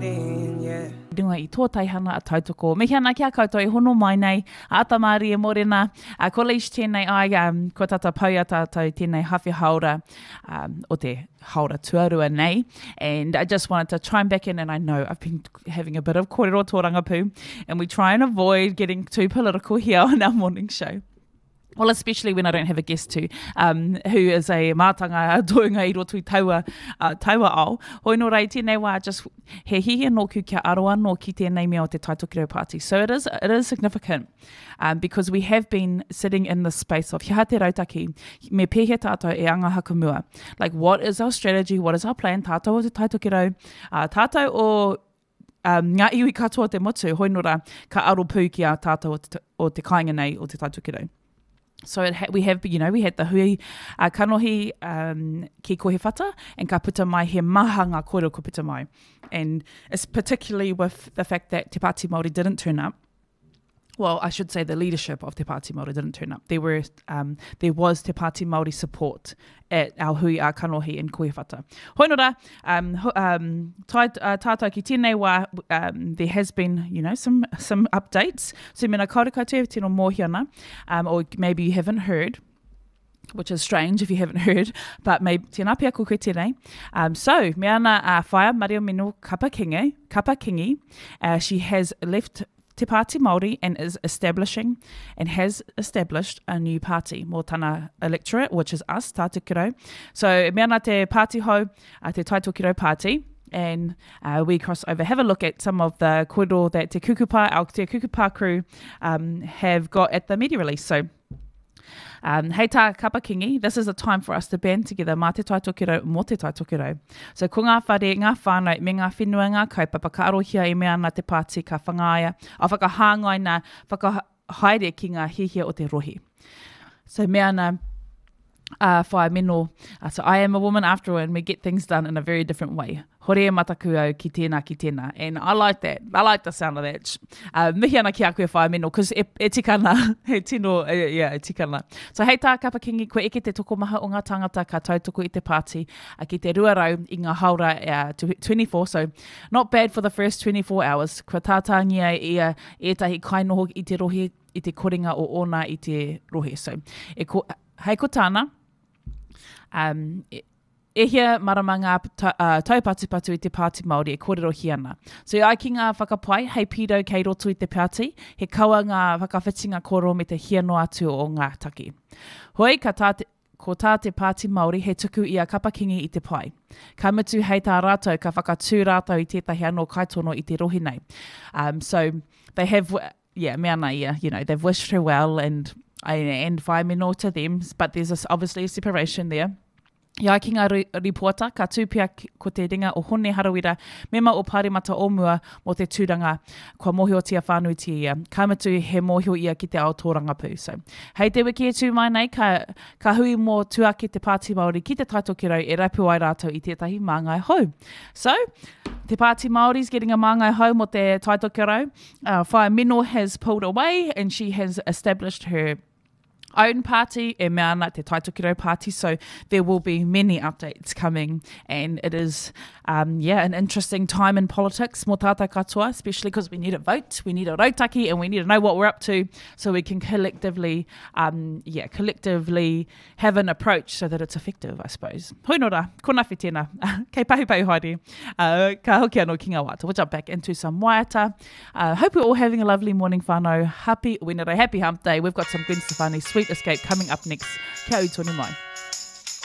morning, yeah. Runga i tō teihana a tautoko. Mihi ana ki a koutou e hono mai nei, a Ata Mārie Morena, a ko Leish tēnei ai, um, kua tata pau i a tātou tēnei hawhe haora um, o te haora tuarua nei. And I just wanted to chime back in and I know I've been having a bit of kōrero tōrangapū and we try and avoid getting too political here on our morning show. Well, especially when I don't have a guest to, um, who is a mātanga a tohunga i roto i taua, uh, taua ao. Hoi nō rei tēnei wā, just he hihi nōku kia aro anō ki tēnei mea o te Tai Tokerau Party. So it is, it is significant um, because we have been sitting in the space of he aha te rautaki, me pēhea tātou e anga hakamua. Like, what is our strategy, what is our plan, tātou o te Tai Tokerau, uh, tātou o um, ngā iwi katoa o te motu, hoi nō rā, ka aro pū ki a tātou o te, o te kāinga nei o Te Tai Tokerau. So it ha we have, you know, we had the hui uh, kanohi um, ki Kohewhata, and ka puta mai he maha ngā kōrero ko puta mai. And it's particularly with the fact that Te Pāti Māori didn't turn up, well, I should say the leadership of Te Pāti Māori didn't turn up. There were, um, there was Te Pāti Māori support at our hui a kanohi in Koiwhata. Hoi nō rā, um, um, tai, uh, tātou ki tēnei wā, um, there has been, you know, some, some updates. So mena kaore koutou e tino mōhio ana, um, or maybe you haven't heard, which is strange if you haven't heard, but maybe tēnā pea ko koe tēnei. Um, so, me ana a uh, Whaea Mario Mino Kapa Kingi, Kapa Kingi, uh, she has left Te Pāti Māori and is establishing and has established a new party mō tana electorate, which is us, Tā Tokerau. So, me ana te party hou, uh, te Tai Tokerau Party, and uh, we cross over, have a look at some of the kōrero that Te Kukupa, our Te Kukupa crew, um, have got at the media release. So, Um, hei tā Kapa Kingi, this is a time for us to band together mā Te Tai Tokerau, mō Te Tai Tokerau. So ko ngā whare, ngā whānau, me ngā whenua, ngā kaupapa ka arohia e mea ana te pāti ka whangaia, a whakahāngaina, whakahaere ki ngā hiahia o te rohe. So mea ana, uh, whae meno, uh, so I am a woman after all and we get things done in a very different way. Hore e mataku au ki tēnā, ki tēnā. And I like that. I like the sound of that. Uh, mihi ana ki a koe whae meno, cause e, e tika ana, he tino, e, yeah, e tika ana. So hei tā Kapa Kingi, kua eke te tokomaha o ngā tāngata ka tautoko i te pāti uh, ki te 200 i ngā haora uh, 24, so not bad for the first 24 hours. Kua tātāngia ia ētahi kainoho i te rohe, i te korenga o ōna i te rohe. So, e ko, hei ko tāna, um, e, e hia marama ngā ta, uh, taupatupatu i te Pāti Māori e kōrerohia ana. So i ai ki ngā whakapae, hei pīrau kei roto i te pāti, he kawa ngā whakawhitinga kōrero me te hia noa atu o ngā take. Hoi, ka tā te, ko tā te Pāti Māori he tuku i a Kapa Kingi i te pae. Ka mutu hei tā rātou, ka whakatū rātou i tētahi anō kaitono i te rohe nei. Um, so, they have, yeah, me ana ia, you know, they've wished her well and, and whai meno to them, but there's a, obviously a separation there. I ai ki ngā rīpoata, ka tū pea ko te ringa o Hone Harawira, mema o Pāremata o mua mō te tūranga, kua mōhiotia whānuitia ia. Ka mutu, he mōhio ia ki te ao tōrangapū. So, hei te wiki e tū mai nei, ka, ka hui mō tuake te Pāti Māori ki Te Tai Tokerau e rapu ai rātou i tētahi māngai hou. So, te Pāti Māori's getting a māngai hou mō te Tai Tokerau. Uh, Whaea Meno has pulled away and she has established her own party, e mea ana te Tai Tokerau party, so there will be many updates coming and it is, um, yeah, an interesting time in politics mō tātou katoa, especially because we need a vote, we need a rautaki and we need to know what we're up to so we can collectively, um, yeah, collectively have an approach so that it's effective, I suppose. Hoi nō rā, ko Nawhi tēnā. Kei pahupahu haere. Uh, ka hoki anō ki ngā waiata. We'll jump back into some waiata. Uh, hope we're all having a lovely morning, whānau. Happy Wenerei, happy hump day. We've got some Gwen Stefani, Sweet Escape coming up next. Kia ū tonu mai.